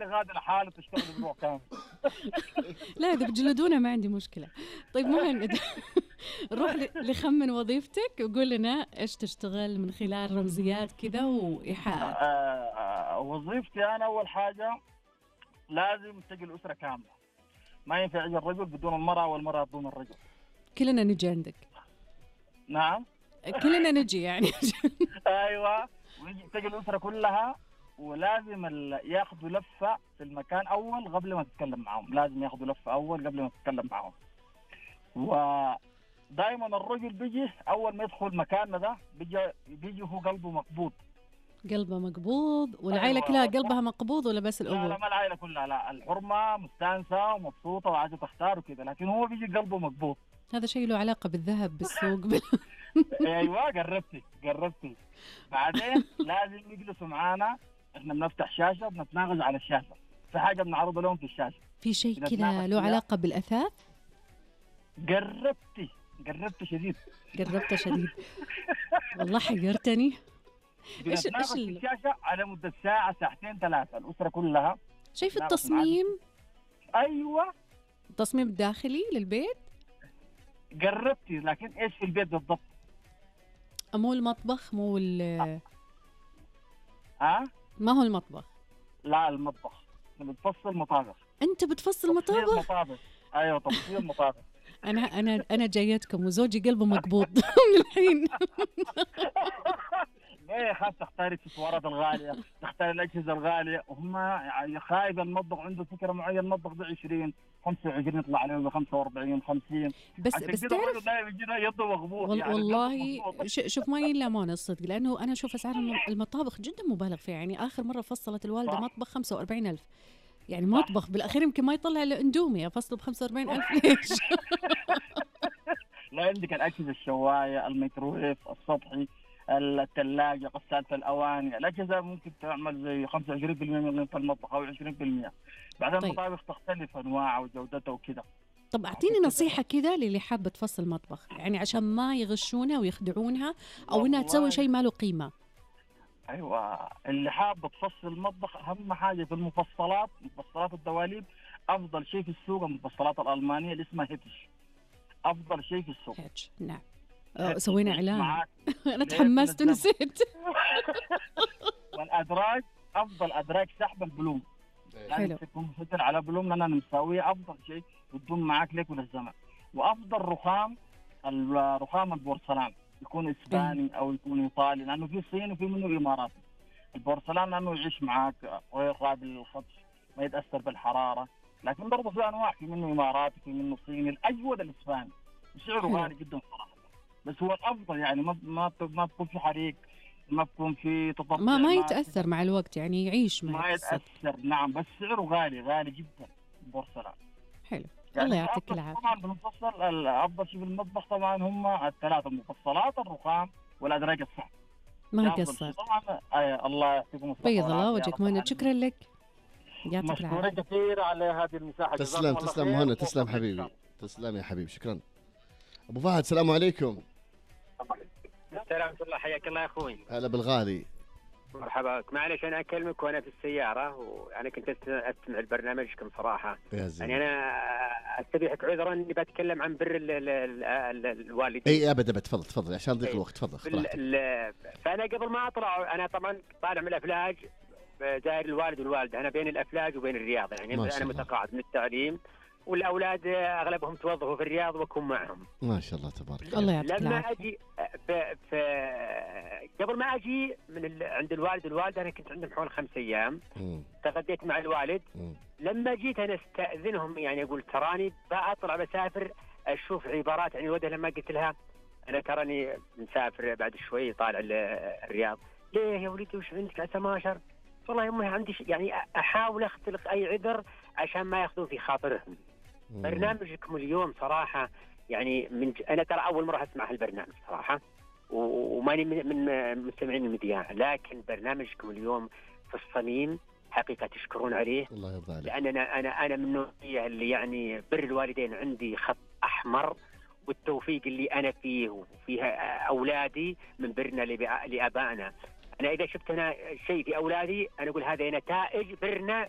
خلي غادة لحاله تشتغل أسبوع كامل. لا إذا بتجلدونا ما عندي مشكلة. طيب مهند نروح لخمن وظيفتك وقول لنا إيش تشتغل من خلال رمزيات كذا وإيحاءات. وظيفتي أنا أول حاجة لازم تجي الأسرة كاملة، ما ينفع يجي الرجل بدون المرأة والمرأة بدون الرجل. كلنا نجي عندك. نعم كلنا نجي يعني. أيوة، تجي الأسرة كلها، ولازم ياخذوا لفة في المكان أول قبل ما تتكلم معهم، لازم ياخذوا لفة أول قبل ما تتكلم معهم. ودائما الرجل بيجي أول ما يدخل مكاننا ده بيجي هو قلبه مقبوض. قلبه مقبوض والعائلة كلها قلبها مقبوض ولا بس الأبو؟ لا ما العائلة كلها، لا الحرمة مستانسة ومبسوطة وعايزة تختار وكذا، لكن هو بيجي قلبه مقبوض. هذا شيء له علاقة بالذهب بالسوق ايوه قربتي. بعدين لازم يجلسوا معانا، احنا بنفتح شاشة بنتناقش على الشاشة، في حاجة بنعرضها لهم في الشاشة. في شيء كذا له علاقة بالأثاث؟ قربت شديد. قربت شديد. والله حيرتني. بنتناقش في الشاشة على مدة ساعة ساعتين ثلاثة، الأسرة كلها. شيء في التصميم؟ أيوة التصميم الداخلي للبيت؟ قربتي، لكن إيش في البيت بالضبط؟ مو المطبخ، مو ما هو المطبخ؟ لا المطبخ، بتفصل مطابخ. أنت بتفصل مطابخ؟ أيوة تفصيل مطابخ. أنا جايتكم وزوجي قلبه مقبوض من الحين. ليه خاف تختاري السوارات الغالية، تختاري الأجهزة الغالية، وهم يعني خايف المطبخ عنده فكرة معينة، المطبخ ده 20 25 يطلع عليه ب 45 50. بس تعرف يده مغبوط يعني. والله شوف ما يلامون الصدق، لأنه أنا أشوف أسعار المطابخ جدا مبالغ فيها. يعني آخر مرة فصلت الوالدة مطبخ 45,000، يعني مطبخ بالأخير يمكن ما يطلع إلا اندومي، أفصل ب45,000 ليش؟ لا عندك الأجهزة الشواية، الميكروويف، السطحي، الثلاجة، غسالة الأواني، الأجهزة ممكن تعمل زي 25% من قيمة المطبخ أو 20%. بعدين طيب. المطابخ تختلف أنواعها وجودتها وكذا. طب أعطيني نصيحة كذا للي حابة تفصل مطبخ، يعني عشان ما يغشونها ويخدعونها أو إنها تسوي شيء ما له قيمة. أيوة، اللي حابة تفصل المطبخ أهم حاجة في مفصلات الدواليب، أفضل شيء في السوق المفصلات الألمانية اللي اسمها هيتش، أفضل شيء في السوق. هيتش نعم. سوينا إعلان. أنا تحمست ونسيت. والأدراج أفضل أدراج سحب البلوم، يعني تكون فتر على بلوم لأننا مساوية أفضل شيء وتدوم معاك لك وللزمن. وأفضل الرخام البورسلان، يكون إسباني أو يكون إيطالي، لأنه في صين وفي منه إماراتي. البورسلان لأنه يعيش معاك غير قابل للخدش، ما يتأثر بالحرارة، لكن برضه في أنواع، في منه إماراتي في منه صيني. الأجود الإسباني وسعره غالي جدا صراحة، بس هو الأفضل يعني ما تكون في حريق، ما تكون في تطبيع، ما يتأثر مع الوقت، يعني يعيش ما يتأثر. نعم، بس سعره غالي جدا البورسلان. حلو يعني الله يعطيك العافية. طبعا بنفصل أفضل شيء في المطبخ طبعا هم الثلاثة المفصلات، الرخام والأدراج الصعب. ما قصر طبعا. الله يعطيكم الصحة. بيض الله وجهك مهند، شكرا لك، يعطيك العافية. مشكورة كثير على هذه المساحة. تسلم مهند، تسلم حبيبي، تسلم يا حبيبي، شكرا. أبو فهد السلام عليكم. السلام ورحمة الله، حياك الله يا أخوي. هلا بالغالي. مرحبا بك. معلش أنا أكلمك وأنا في السيارة، وأنا كنت أستمع لبرنامجكم صراحة. يعني أنا أستبيحك عذرا إني بتكلم عن بر الوالدين. أي أبدا، تفضل عشان ضيق الوقت، تفضل. فأنا قبل ما أطلع، أنا طبعا طالع من الأفلاج، زائر الوالد والوالدة، أنا بين الأفلاج وبين الرياض، يعني أنا متقاعد من التعليم، والأولاد أغلبهم توظفوا في الرياض وأكون معهم. ما شاء الله تبارك الله يعطيك لما أجي قبل ما أجي عند الوالد والوالدة، أنا كنت عندهم حول 5 أيام. تغديت مع الوالد. لما جيت أنا استأذنهم، يعني أقول تراني بأطلع بسافر، أشوف عبارات عن الوالدة. لما قلت لها أنا تراني مسافر بعد شوي طالع الرياض، ليه يا ولدي وش عندك عسى ما أشر؟ والله يمي عندي يعني أحاول أختلق أي عذر عشان ما ياخذوا في خاطرهم. برنامجكم اليوم صراحة يعني أنا ترى أول مرة أسمع هالبرنامج صراحة، وماني من مستمعين المذياع، لكن برنامجكم اليوم في الصميم حقيقة تشكرون عليه. الله يرضى عليك. لأن أنا من النوعية اللي يعني بر الوالدين عندي خط أحمر، والتوفيق اللي أنا فيه وفيها أولادي من برنا لآبائنا. أنا إذا شفت أنا شيء في أولادي، أنا أقول هذا نتائج برنا